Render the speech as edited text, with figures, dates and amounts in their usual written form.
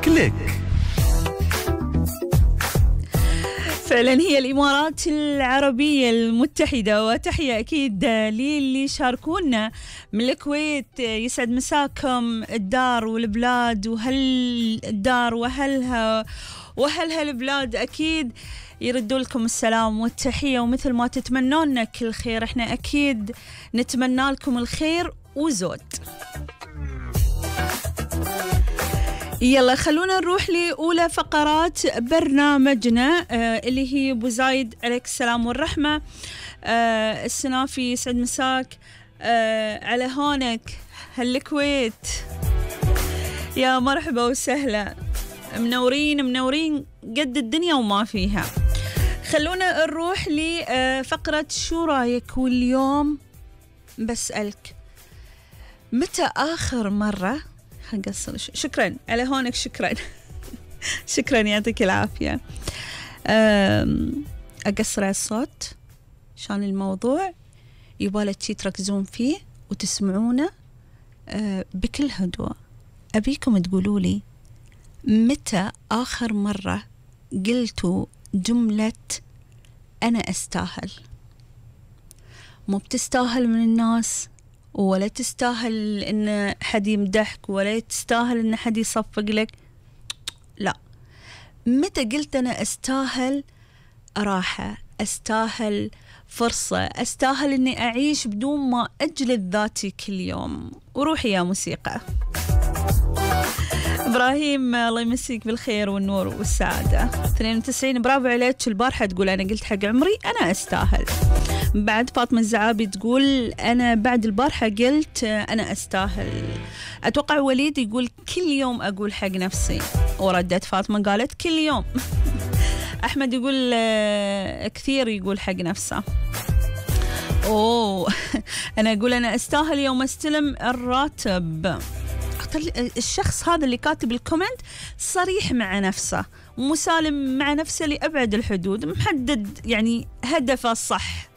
كليك. فعلا هي الإمارات العربية المتحدة، وتحية أكيد للي شاركونا من الكويت. يسعد مساكم الدار والبلاد، وهل الدار وهلها البلاد أكيد يردوا لكم السلام والتحية، ومثل ما تتمنون كل خير احنا أكيد نتمنى لكم الخير وزود. يلا خلونا نروح لأولى فقرات برنامجنا اللي هي أبو زايد عليك السلام والرحمة. السنافي يسعد مساك على هونك هالكويت، يا مرحبا وسهلا، منورين قد الدنيا وما فيها. خلونا نروح لفقرة شو رايك، واليوم بسألك متى آخر مرة هقصر. شكرا على هونك، شكرا يعطيك العافية. أقصر على الصوت عشان الموضوع يبالك شي تركزون فيه وتسمعونه بكل هدوء. أبيكم تقولوا لي متى آخر مرة قلتوا جملة أنا أستاهل؟ مو بتستاهل من الناس، ولا تستاهل إن حد يمدحك، ولا تستاهل إن حد يصفق لك، لا. متى قلت أنا أستاهل راحة، أستاهل فرصة، أستاهل إني أعيش بدون ما أجلد ذاتي كل يوم؟ وروحي يا موسيقى. إبراهيم الله يمسيك بالخير والنور والسعادة 92 برافو عليك. البارحة تقول أنا قلت حق عمري أنا أستاهل. بعد فاطمة الزعابي تقول أنا بعد البارحة قلت أنا أستاهل. أتوقع وليد يقول كل يوم أقول حق نفسي، وردت فاطمة قالت كل يوم. أحمد يقول كثير يقول حق نفسه. أوه أنا أقول أنا أستاهل يوم أستلم الراتب. الشخص هذا اللي كاتب الكومنت صريح مع نفسه، مسالم مع نفسه لأبعد الحدود، محدد يعني هدفه الصح.